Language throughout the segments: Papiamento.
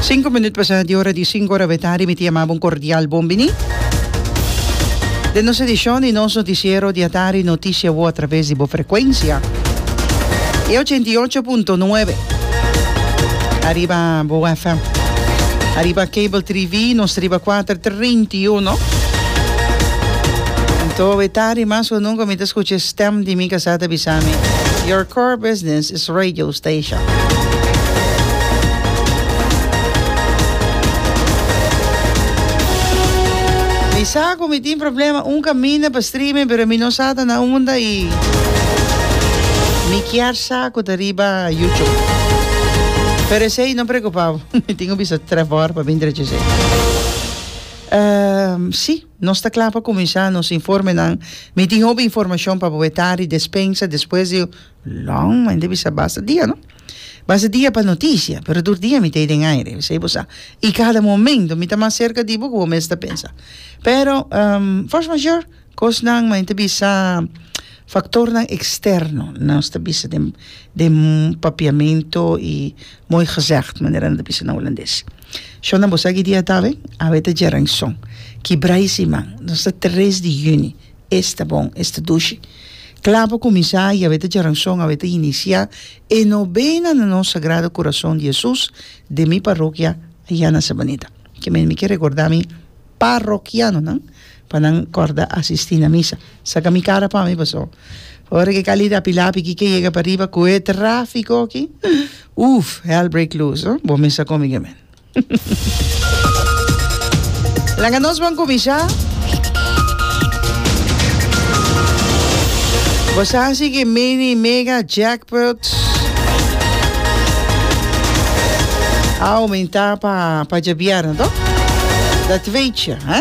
Cinco minuut pasa di ora di cinco ora betari mi ta yama bo un cordial bon bini den nos edicion di nos noticiero di atari Noticia Wo a traves di bo frecuencia e 88.9 ariba bo FM ariba cable TV nos riba 431 Anto betari mas cu nunca mi ta scucha e stem di mi casa ta bisa mi your core business is radio station. Mi sa cu mi tin problema un caminda pa streaming pero mi no sa ta na unda y mi kier sa cu ta riba YouTube. Pero esey no preocupa bo, mi tin cu bisa Trevor pa bin drecha esey. Ehm, si, nos ta cla pa cuminsa nos informenan. Mi tin hopi informacion pa bo wetari despensa despues di Long, men ta bisa basta dia no. Basta dia pa noticia, pero tur dia mi ta ei den aire, esei bo sa. I kada momento mi ta mas serka di bo ku bo mes ta pensa. Pero, force majeure, kosnan, men ta bisa faktornan eksterno, nos ta bisa den den papiamento i mooi gezegd, manera nan ta bisa na hulandes. Shonnan bo sa ki dia ta awe? Awe ta djaranson, kibra i siman, nos ta tres di yüni. Esta bon, esta dushi. Kla pa kuminsá i awe ta djaranson, awe ta inisiá e nobena na nos Sagrado Kurason di Hesus den mi parokia ayá na Sabaneta. Ke men mi ke rekordá mi parokianonan pa nan kòrda asistí na misa. Saka mi kara pa mi paso ora ke kali rapi lapi ki ke yega pariba ku e tráfiko aki, uf, hell break loose, bo mes sa kon mi ke men. Laga nos ban kuminsá. Bo sa si ke mini mega jackpot a oumentá pa pa djabièrnè to? Dat weet je, hè?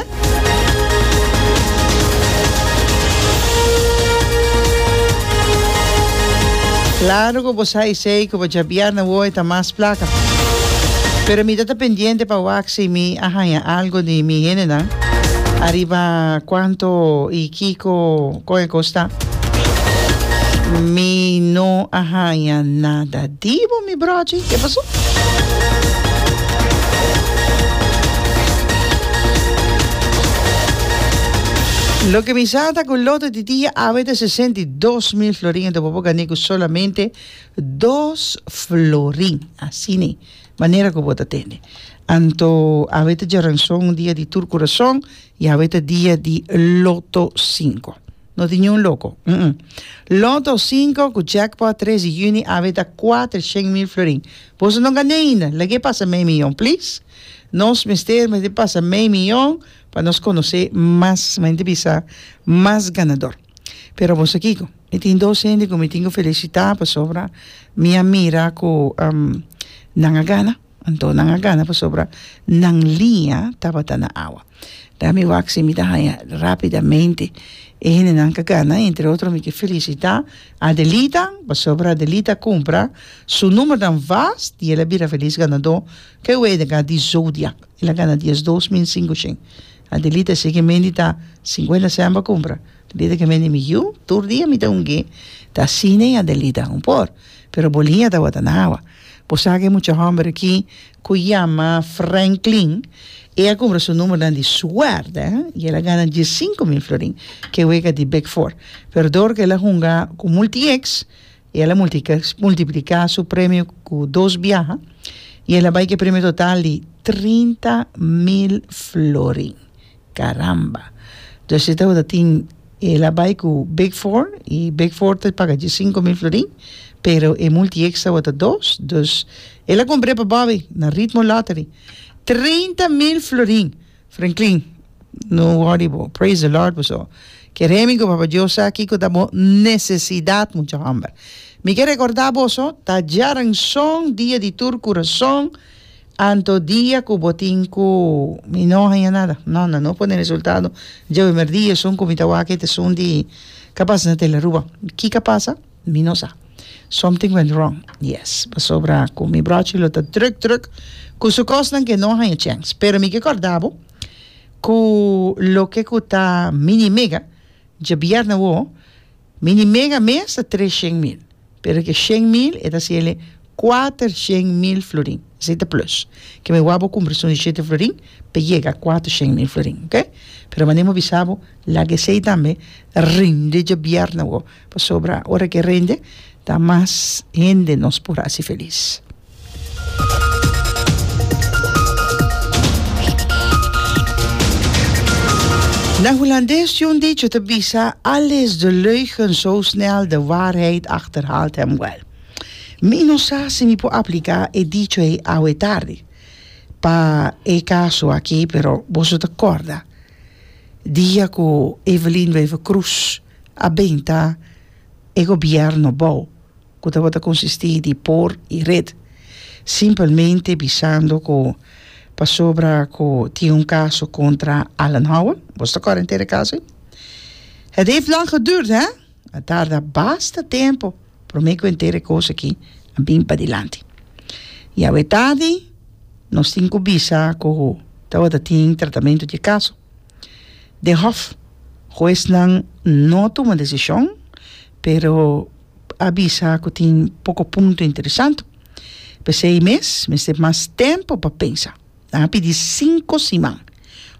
Claro ku bo sa esei ku pa djabièrnè wou e ta mas plaka. Pero mi ta ta pendiente pa wak si mi a haña algo di mi hendenan ariba cuanto y kico con e cos ta. Mi no a haña nada di bo mi brochi. Ke paso? Loke mi sa ta cu loto di dia awe ta 62 mil florin anto bo por gane cu solamente Dos florin, asina, manera ku bo ta tende. Anto awe ta djaranson, un dia di tur kurason, i awe ta dia di Loto sinku. No tin niun loko, mm. Loto sinku ku jackpot tres di yüni awe ta kuatershen mil florin. Boso no gana ainda, lag'é pasa mei miyon, please. Nos mester mester pasa mei miyon pa nos konosé mas, men ta bisa, mas ganador. Pero boso kiko? Mi tin dos hende ku mi tin ku felisitá pasobra mi a mira ku nan a gana. Anto nan a gana pasobra nan liña tabata na awa. Da mi wak si mi ta haña rápidamente e hendenan ku a gana. Entre otro mi ke felisitá Adelita pasobra Adelita a kumpra su numbernan vast i el a bira felis ganadó ku e wega di Zodiac. El a gana 12500. Adelita si ke mendi ta sinkuenta sèn pa kumpra. Adelita ke mendi mi yu tur dia mi ta ungi ta asina i Adelita un por pero bo liña tabata na awa. Bo sa ke mucha hòmber aki ku yama Franklin e a kumpra su numbernan di suerte i el a gana 15000 florin ke wega di Big Four pero dor ku el a hunga ku Multi-X El a multipliká su premio ku dos biaha i el a bai ku e premio total di 30,000 florin. Karamba! Dus e tabata tin, el a bai ku Big Four i Big Four ta paga dje 5,000 florin, pero e Multi-X tabata dos, dus el a kumpr'é pa Bobby na Ritmo Lottery. 30,000 florin! Franklin, no worry bo, praise the Lord boso. Kere mi ku Papa Dios sa kiko ta bo nesesidat mucha hòmber. Mi ke rekordá boso, ta djaranson dia di tur kurason, anto dia ku bo tin ku mi no haña nada, no no no pone resultado djawe mèrdia esun ku mi ta wak e ta esun di ka pasa na Telaruba. Kiko a pasa? Mi no sa. Something went wrong. Yes. Pasobra ku mi brochi lo ta druk druk ku su kosnan ke no haña chèns. Pero mi ke kòrda bo ku loke ku ta mini mega djabièrnè awo, mini mega mes ta 300 mil. Pero ke 100 mil e ta hasiel e. 400.000 florin. Esei ta plus. Ke mi wak bo kumpra esun di shete florin pa yega 400.000 florin, oke? Pero manera mi bisa bo, laga esei tambe rinde djabièrnè awo, pasobra ora ke rinde ta mas hende nos por hasi felis. Na Hulandes tin un dicho ta bisa, Al is de leugen zo snel, de waarheid achterhaalt hem wel. Mi no sa si mi por aplica e dicho ei awe tardi pa e caso aki, pero boso ta corda dia cu Evelyn Wever-Croes a benta e gobierno bou cu tabata consisti di por y red, simpelmente bisando cu pasobra cu tin un caso contra Alan Howell, boso ta corda henter e caso ei? Het heeft lang geduurd he, a tarda basta tempo prome cu henter e cos aki a bin padilanti. Y awe tardi nos tin cu bisa cu tabata tin tratamento di e caso den hof. Huesnan no a tuma decision, pero a bisa cu tin poco punto interesante. P'esey mes mester mas tempo pa pensa. Nan a pidi cinco siman.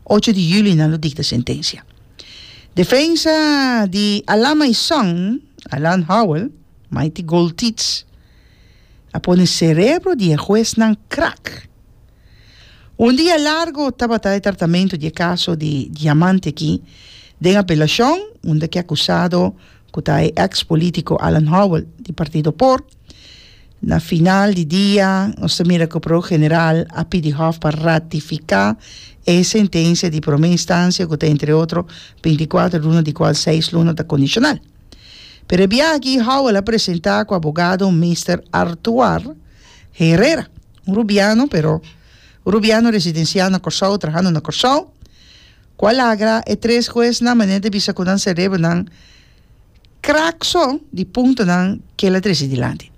Ocho di juli nan lo dicta sentencia. Defensa di Alan Maison, Alan Howell, Mighty Gold Teats, a pone cerebro di e huesnan krak. Un dia largo tabata e tratamentu di e kaso di diamante aki den apelashon unda ku e akusado ku ta e eks politiko Alan Howell di partido por. Na final di dia nos ta mira ku Prokuror General a pidi Hof pa ratifiká e sentensia di promé instansia ku ta entre otro 24 luna di kual seis luna ta kondishonal. Pero e biaha aki Howell a presentá ku abogado Mister Artuar Herrera. Un rubiano, pero un rubiano residenciá na Kòrsou, trahando na Kòrsou, ku a lagra e tres huesnan manera di bisa ku nan serebronan krak so di puntonan ku el a trese dilanti.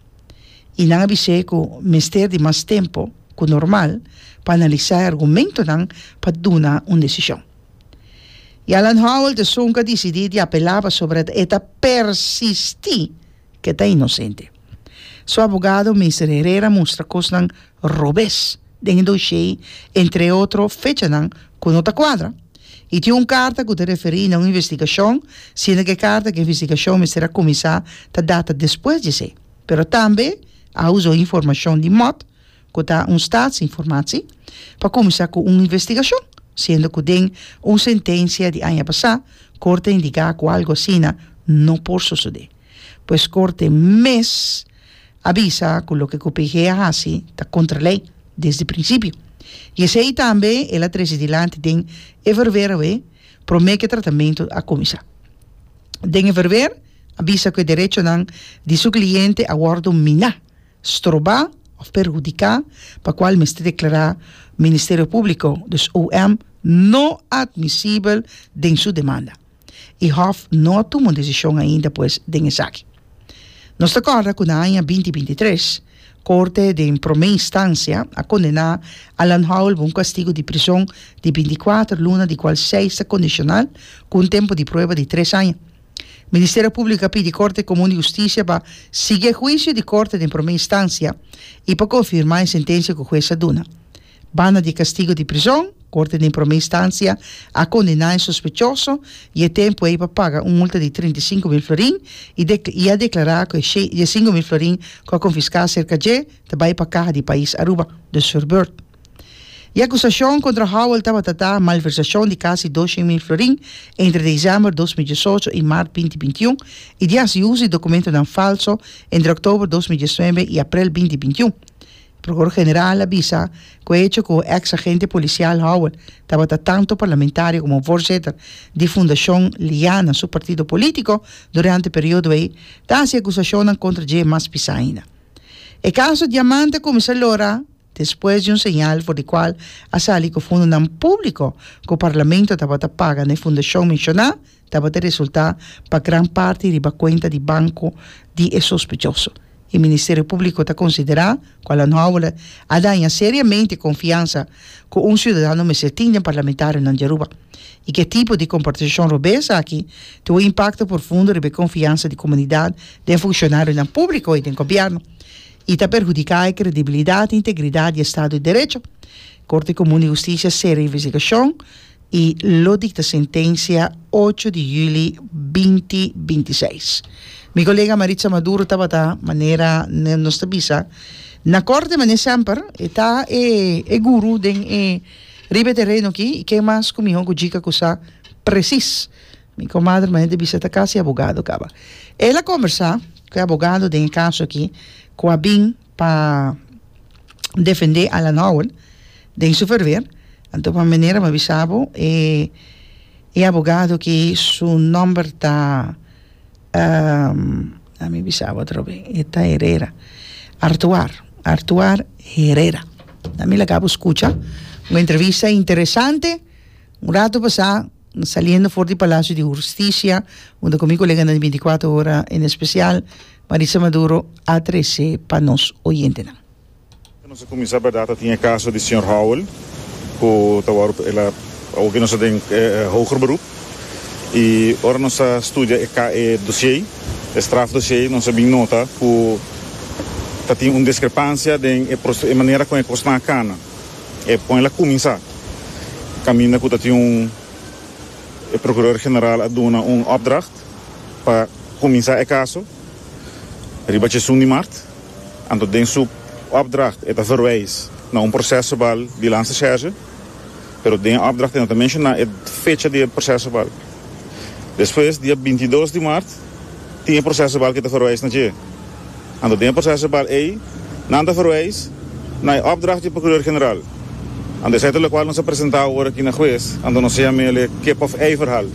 I nan a bis'é ku mester di mas tempu ku normal pa analisá e argumentonan pa duna un desishon. I Alan Howell ta esun ku a disidí di apelá pasobra e ta persistí ke ta inosente. Su abogado Mister Herrera mustra kosnan robes den e doshei, entre otro fechanan ku no ta kuadra. I tin un karta ku ta referí na un investigashon, siendo ku e karta ku e investigashon mester a kuminsá ta data despues di esei. Pero tambe a usa un informashon di mòt ku ta un staatsinformatie, pa kuminsá ku un investigashon, siendo ku den un sentensia di aña pasá korte a indiká ku algu asina no por sosodé. Pues korte mes a bisa ku loke ku PG a hasi ta kontra lei desde prinsipio. I esei tambe el a trese dilanti den e verwer awe promé ku e tratamentu a kuminsá. Den e verwer a bisa ku e derechonan di su kliente a wòrdu miná, strobá òf perhudiká pa kual mester deklará Ministerio Públiko, dus OM, no atmisibel den su demanda. I Hof no a tuma un desishon ainda pues den esaki. Nos ta kòrda ku na aña binti binti tres, Korte den Promé Instansia a kondená Alan Howell pa un kastigu di prison di 24 luna di kual seis ta kondishonal ku un tempu di prueba di tres aña. Ministerio Públiko a pidi Korte Komun di Hustisia pa sigui e huisio di Korte den Promé Instansia i pa konfirmá e sentensia ku hues a duna. Banda di e kastigu di prizon, Korte den Promé Instansia a kondená e sospechoso i e tempu ei pa paga un multa di 35.000 florin i i a deklará ku e 5.000 florin ku a konfiská serka dje ta bai pa kaha di pais Aruba, dus verbeurd. E akusashon kontra Howell tabata ta malversashon di kasi 200.000 florin entre desèmber 2018 i mart 2021 i di hasi uso di dokumentonan falso entre òktober 2019 i aprel 2021. Prokuror General a bisa ku e hecho ku eks agente polisial Howell tabata tantu parlamentario komo voorzitter di Fundashon Liana, su partido polítiko, durante e periodo ei, ta hasi akusashonnan kontra dje mas pisá ainda. E kaso Diamante a kuminsá lora despues di un señal for di kual a sali ku fondonan públiko ku parlamento tabata paga na e fundashon menshoná tabata resultá pa gran parti riba kuenta di banko di e sospechoso. E Ministerio Públiko ta konsiderá ku Alan Howell a daña seriamente e konfiansa ku un siudadano mester tin den parlamentarionan di Aruba i ku e tipo di komportashon robes aki tin un impakto profundo riba e konfiansa di komunidat den funshonarionan públiko i den gobièrnu. i ta perhudiká e kredibilidat i integridat di estado di derecho. Korte Komun di Hustisia sera investigashon i lo dikta sentensia ocho di yüli binti 26. Mi kolega Maritza Maduro tabata manera nos ta bisa na korte manera semper e ta e e guru den e riba e tereno aki i ken mas ku mihó ku Djika ku sa presis. Mi komadre manera ta bisa ta kasi abogado kaba. El a kombersá ku e abogado den e kaso aki ku a bin pa defendé Alan Howell den su verweer. Anto pa manera mi a bisa bo e e abogado aki su nòmber ta mi bisa bo atrobe e ta Herrera Artuar Artuar Herrera. Mi laga bo skucha un entrevista interesante un rato pasá. Saliendo for di Palacio di Hustisia, unda cu mi coleganan di 24 Ora, en especial Marisa Maduro, a trece pa nos oyentenan. Nos a cuminsa berdad ta tin e caso di señor Howell cu ta worde el a awoki nos ta den hoger beroep y ora nos a studia e e dossier e strafdossier nos a bin nota cu ta tin un discrepancia den e e manera con e cosnan a cana. E pon el a kuminsá kaminda ku ta tin un e prokuror general a duna un opdracht pa kuminsá e kaso riba djesun di mart. Anto den su opdracht e ta verwijs na un prosèsverbal di Landsrecherche, pero den e opdracht e no ta menshoná e fecha di e prosèsverbal. Despues dia 22 di mart tin e prosèsverbal ku e ta verwijs na dje. Anto den e prosèsverbal ei nan ta verwijs na e opdracht di Procureur-Generaal. Anto esei ta lokual nos a presentá awor aki na hues, anto nos a yam'el e kip of ei verhaal.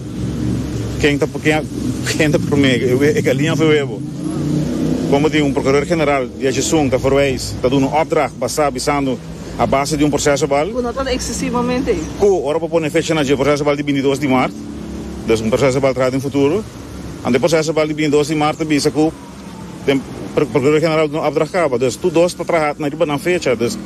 Ken ta ken ta promé, e galiña of e webo? Komo di un Procureur-Generaal di Ajesun ta verwijs, ta duna un opdracht basá bisando a base di un prosèsverbal. Ku no ta eksesivamente. Ku ora bo pone fecha na dje prosèsverbal di 22 di mart, dus un prosèsverbal traha den futuro, anto e prosèsverbal di 22 di mart ta bisa ku. Den Procuraduria General no opdracht caba, dus tur dos ta traha na riba nan fecha, dus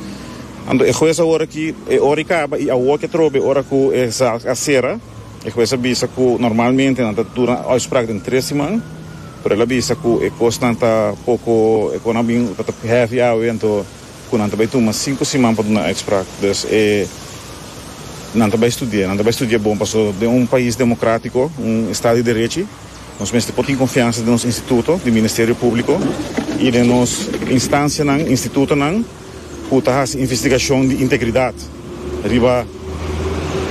anto e hues awor aki e ora i caba i awor ke trobe ora cu e zaak a cera, e hues a bisa cu normalmente nan ta dura uitspraak den tres siman, pero el a bisa cu e cosnan ta poco e con a bin ta heavy awe anto cu nan ta bay tuma cinco siman pa duna uitspraak, dus e nan ta bay studia, nan ta bay studia bon pasobra den un pais democratico, un estado di derechi. Nos mester por tin konfiansa den nos instituto di Ministerio Públiko i den nos instansianan, institutonan ku ta hasi investigashon di integridat riba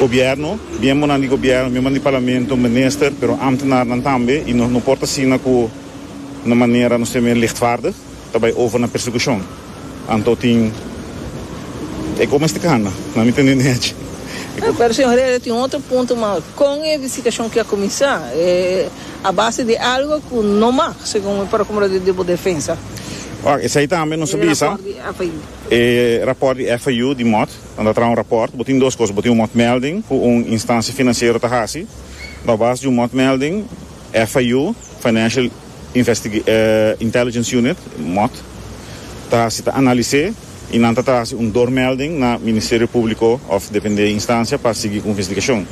gobièrnu, miembronan di gobièrnu, miembronan di parlamento, minister, pero ámtenarnan tambe i nos no por ta asina ku na manera nos ta yama lichtvaardig ta bai over na persekushon. Anto tin e kon mester kana, na mi tende nechi. Pero señor Herrera tin otro punto mas, kon e investigashon ke a kuminsá? A base di algo ku no mag, segun e prokurador di bo defensa. Wak, esei tambe nos a bisa, e rapòrt di FIU di mòt, nan ta traha un rapòrt, bo tin dos kos, bo tin un mòtmelding ku un instansia finansiero ta hasi, a base di un mòtmelding FIU, Financial Intelligence Unit, mot, ta hasi ta analis'é i nan ta ta hasi un doormelding na Ministerio Públiko òf dependé e instansia pa sigui ku investigashon.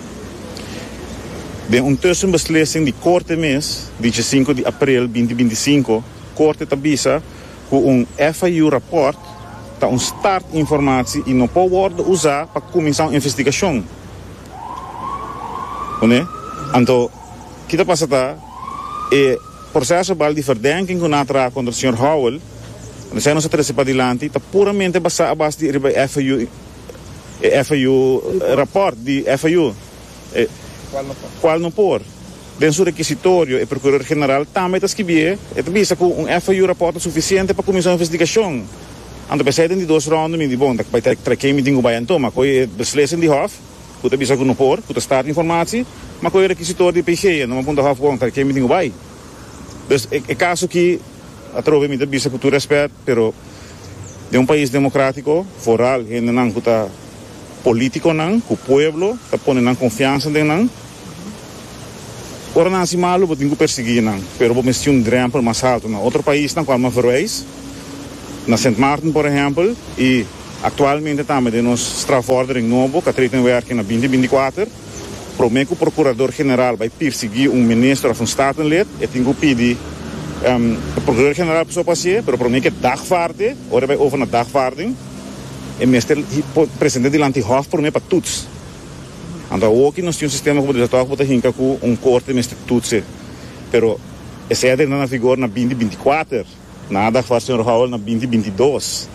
Den un tussenbeslissing di Korte mes di djesinku di aprel 2025, Korte ta bisa ku un FIU rapòrt ta un startinformatie i no por wòrdu usá pa kuminsá un investigashon. Kuné? Anto. Ki ta pasa ta e proceso bal di verdenking cu nan a traha contra señor Howell, esei nos a trece padilanti, ta puramente basa a base di riba e FIU, e FIU rapport di FIU, e cual no por. Den su requisitorio e Procureur General tambe ta skibié, e ta bisa cu un FIU rapport ta suficiente pa cuminsa un investigacion. Anto p'esei den di dos ronde mi di bon, ta bay trae ken mi tin cu bay anto, ma cu e beslissing di Hof, Ku ta bisa ku no por, ku ta start informatie, ma ku e rekisitor di PG no a punta hof bon ta ken mi tin ku bai. Dus e kaso aki atrobe mi ta bisa ku tur rèspèt, pero den un pais demokratiko, foral hendenan ku ta politikonan, ku pueblo ta pone nan konfiansa den nan, ora nan hasi malu bo tin ku persiguí nan, pero bo mester un drèmpel mas haltu. Na otro paisnan ku alma verwijs, na Sint Maarten por ehèmpel, i. Aktualmente tambe den nos strafvordering nobo ku a treta en werking na 2024, promé ku Prokurador General bai pirsiguí un minister òf un Statenlid, e tin ku pidi E Procureur General so por hacié, pero prome ke dagvaarde, ora e bai over na dagvaarding, e mester presente dilanti Hof prome pa toets. Anto awoki nos tin un sistema ku bo ta bisa tòg bo ta hinka ku un korte mester toetse, pero esei a drenta na vigor na binti 24. Nan a dagvaar señor Howell na binti 22.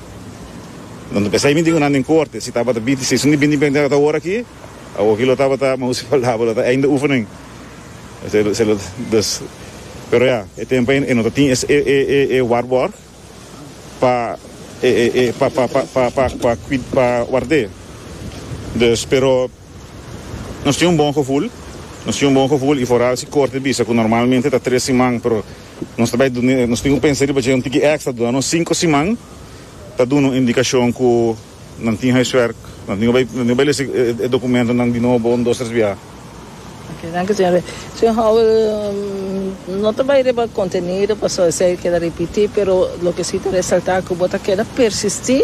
Anto p'esei mi tin ku nan den korte, si tabata binti seis un di binti 24 awor aki, awoki lo tabata, mausi palabra, lo ta einde oefening. Dus, pero ya, e tempo ei e no ta tin e e e waarborg pa e e e pa pa pa pa pa pa pa ward'é. Dus, pero nos tin un bon gevoel, nos tin un bon gevoel i foral si korte bisa ku normalmente ta tres siman, pero nos ta bai duna, nos tin ku pensa riba dje un tiki èkstra, duna nos sinku siman ta duna un indikashon ku nan tin huiswerk, nan tin ku bai nan tin ku bai lesa e dokumentonan di nobo un dos tres biaha. Ok, danki señor Rey. Señor Howell, no ta bai riba contenido pasobra esey keda ripiti, pero loke si ta resalta cu bo ta keda persisti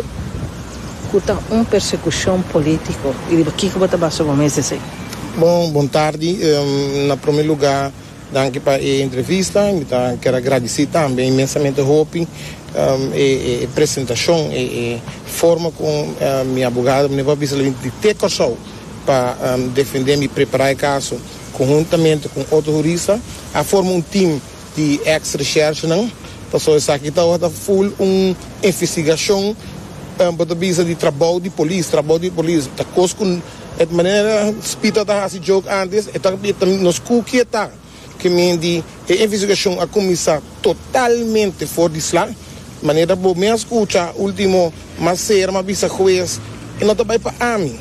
cu ta un persecucion politico y riba kico bo ta basa bo mes esey? Bon, bon tardi. Na prome lugar, danki pa e entrevista. Mi ta kier a gradici tambe inmensamente hopi e presentacion, e forma con mi abogado, mi no por bisa lo di te Corsou. pa defende mi prepara e caso conhuntamente cu otro hurista a forma un team di ex recherchenan pasobra esaki tabata full un investigacion bo ta bisa di trabou di polis trabou di polis ta cos cu e manera Spita ta haci joke antes e ta nos cuki e ta. Ke men di e investigashon a kuminsá totalmente for di sla. Manera bo mes a skucha último mas ser m'a bisa hues, e no ta bai pa ami,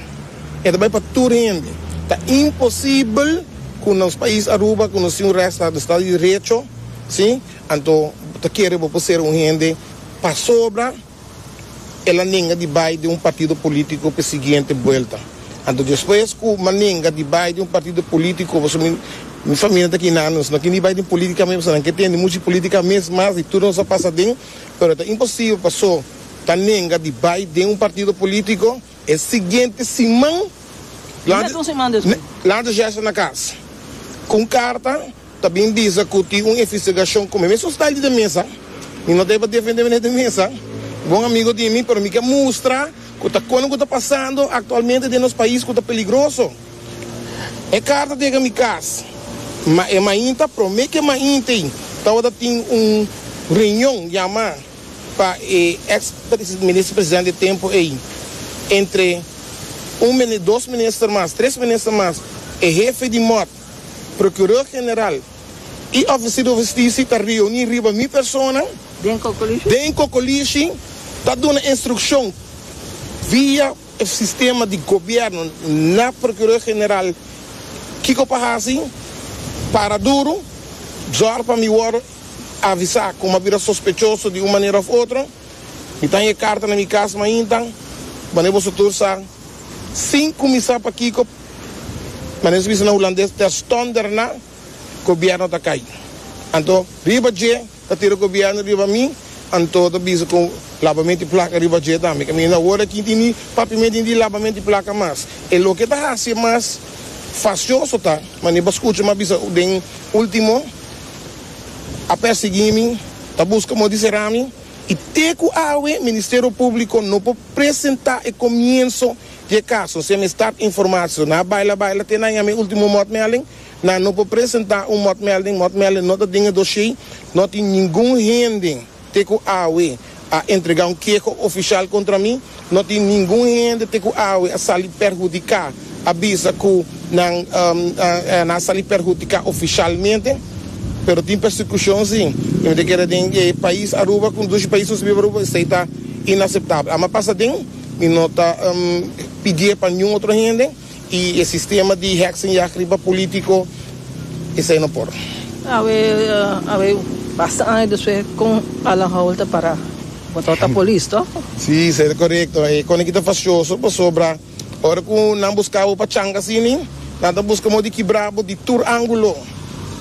e ta bai pa tur hende. Ta imposibel ku nos pais Aruba ku nos tin un rèchtstaat, un estado di derecho, si, anto bo ta kere bo por ser un hende pasobra. El a nenga di bai den un partido politico p'e siguiente buelta. Anto despues cu m'a nenga di bai den un partido politico, pasobra mi mi familia ta kina, nos no kende bai den politica mes, pasobra nan ke tende mucho di politica mes mas di tur nos a pasa den, pero ta imposibel paso ta nenga di bai den un partido politico. E siguiente siman, Net un siman despues. Landrecherche na cas cu un carta. Ta bin bisa cu tin un investigashon cu mi mesun style di de mesa. Mi no ta pa defende meneer de mesa, bon amigo di mi, pero mi ke mustra cu ta con cu ta pasando actualmente den nos pais cu ta peligroso. E carta ta yega mi cas, ma e mainta, prome cu e mainta ey, tawata tin un reunion yama pa e ex minister presidente e tempo ey, entre un dos minister mas, tres minister mas, e hefe di mot, Procureur General y Officier di Husticia ta reuni riba mi persona Den Kokolishi. Den Kokolishi ta duna instruccion via e sistema di gobierno na Procureur General kico pa haci, para duro, zorg pa mi worde avisa cu mi a bira sospechoso di un manera of otro. Mi ta haña e carta na mi cas mainta, wanneer boso tur sa sin cuminsa pakico. Manera su bisa na hulandes, terstond derna gobierno ta kai. Anto riba dje ta tira gobierno riba mi, anto ta bisa ku labamento di plaka riba dje tambe. Kaminda awor aki tin ni papiamento ni di labamento di plaka mas. E loke ta hasi mas fasioso ta, manera bo a skucha mi a bisa den ultimo, a persegui mi, ta buska modo di sera mi, i te ku awe Ministerio Publiko no por presenta e komienso Di e kaso, si mi start informatie, nan a baila baila te nan yama e ultimo motmelding, nan no por presenta un motmelding, motmelding no ta den e dossier, no tin ningun hende te ku awe a entrega un keho ofishal kontra mi, no tin ningun hende te ku awe a sali perhudiká, a bisa ku nan nan a sali perhudiká ofishalmente, pero tin persekushon si, i mi ta kere den e pais Aruba, ku dushi pais nos biba Aruba, esei ta inaseptabel. Ama pasa den. Mi no ta pidié pa niun otro hende y e sistema di heksenjacht riba politico esey no por. Awe awe basta aña despues con Alan Howell ta para? Bo tabata polis toch? Si, esey ta corecto. E con aki ta fastioso pasobra ora cu nan busca bo pa changa asini, nan ta busca modo di kibra bo di tur angulo.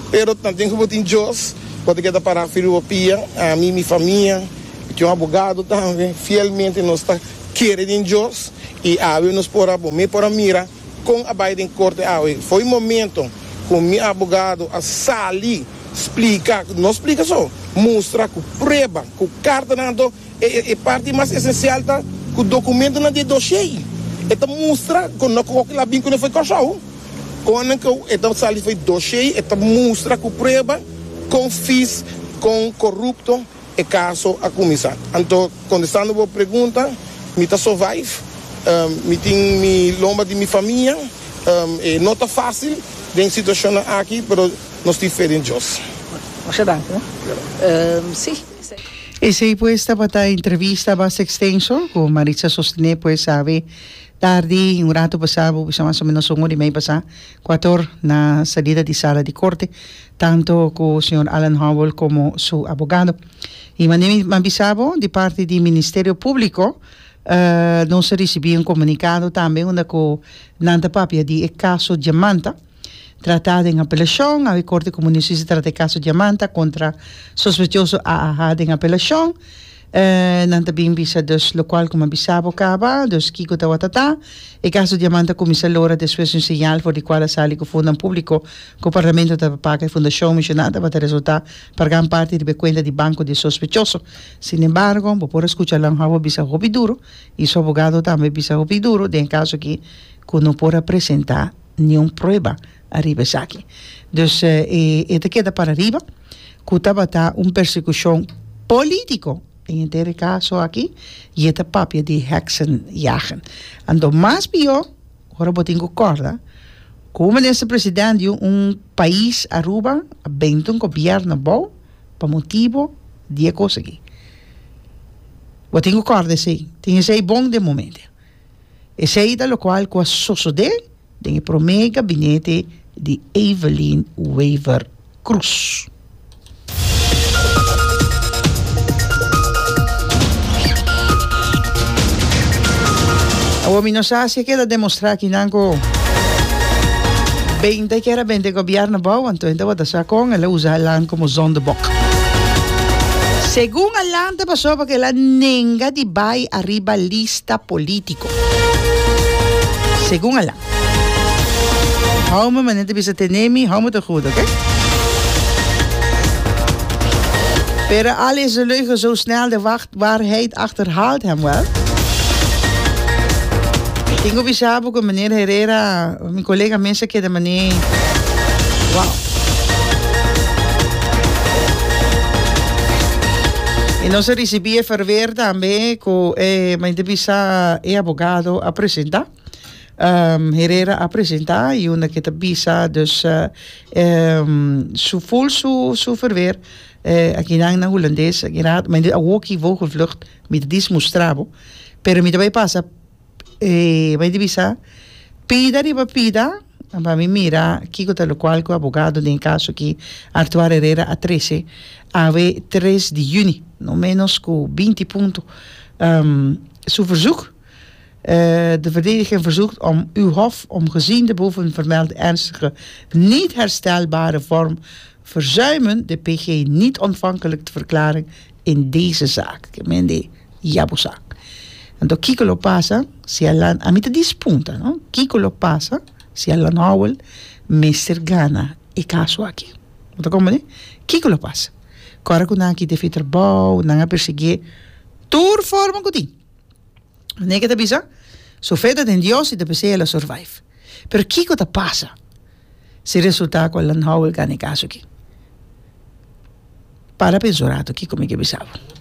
Pero tanten cu bo tin Dios, bo ta keda para firme bo pia. Ami, mi famia. Mi tin un abogado tambe. Fielmente nos ta kere den Dios y awe nos por a, bo mi por a mira con a bay den corte awe. Fo'i momento cu mi abogado a sali. Splika, no splika so, mustra ku prueba, ku kartanan anto e e parti mas esensial ta ku dokumentonan di e dossier. E ta mustra ku no ku el a bin kuné for Kòrsou. Kon ku e ta sali for e dossier e ta mustra ku prueba kon fis, kon korupto e kaso a kuminsá. Anto kontestando bo pregunta, mi ta survive, mi tin mi lomba di mi famia, e no ta fásil den situashonnan aki pero. Nos tin fe den Dios. Masha danki. Sí. Esei pues tabata entrevista basta extenso cu Maritza sostene pues awe tardi un rato pasa bo bisa mas o menos un ora y mei pasa cuator na salida di sala di corte tanto cu señor Alan Howell como su abogado. Y mane mi a bisa bo di parti di Ministerio Publico nos a ricibi un comunicado tambe unda cu nan ta papia di e caso Diamanta. Tratá den apelashon, Awe Korte Komun di Hustisia trata e kaso Diamanta kontra sospechoso AAH den apelashon. Nan ta bin bisa dus lokual ku mi a bisa bo kaba, dus kiko tabata ta. E kaso Diamanta kuminsá lora despues di un señal for di kual a sali ku fondonan públiko ku Parlamento tabata paga e fundashon menshoná tabata resultá pa gran parti riba e kuenta di banko di e sospechoso. Sinembargo, bo por a skucha Langhouwer bisa hopi duru i su abogado tambe bisa hopi duru den e kaso aki ku no por a presentá niun prueba ariba esaki. Dus e e ta keda para riba ku tabata un persekushon polítiko den henter e kaso aki i e ta papia di heksenjagen. Anto mas pió ora bo tin ku kòrda ku un minister president di un pais Aruba a benta un gobièrnu abou pa motibo di e kos aki. Bo tin ku kòrda esei. Tin esei bon den momento. Esei ta lokual ku a sosodé den e promé gabinete di Evelyn Wever Croes. Awor mi no sa si a keda demostrá kinan ku benta kier a benta e gobièrnu abou, anto e tabata sa kon el a usa Alan komo zondebok. Segun Alan ta pasobra ku el a nenga di bai ariba lista polítiko. Segun Alan. Hou me manera ta bisa tene mi, hou me te goed, oké? Pero al is de leugen zo snel, de wacht, waarheid achterhaalt hem wel. Tin ku bisa bo ku meneer Herrera, mi kolega mes a keda manera, wow. I nos a risibí e verweer tambe ku e men ta bisa e abogado a presentá. Herrera a presentá i unda ke ta bisa dus su ful su su verweer akinan na hulandes aki rato men di awoki vogelvlucht mi ta dis mustra bo pero mi ta bai pasa E bai di bisa, Pida riba pida, pa mi mira kiko ta lokual ku abogado den e kaso aki, Artuar Herrera a trese awe tres di yüni, no ménos ku binti punto. Su verzoek, De verdediging verzoekt om uw hof om gezien de bovenvermelde ernstige, niet herstelbare vorm verzuimen de PG niet ontvankelijk te verklaren in deze zaak. Ke men di ya bo sa. Anto kiko lo pasa si Alan, ami ta dispunta no, kiko lo pasa si Alan Howell mester gana e kaso aki? Bo ta komprende? Kiko lo pasa? Kòrda ku nan a kita e trabou, nan a persiguié tur forma ku tin. Manera ke ta bisa, su fe ta den Dios i ta p'esei el a survive. Pero kiko ta pasa si resulta ku Alan Howell gana e kaso aki? Para pensa un rato kiko mi ke bisa bo.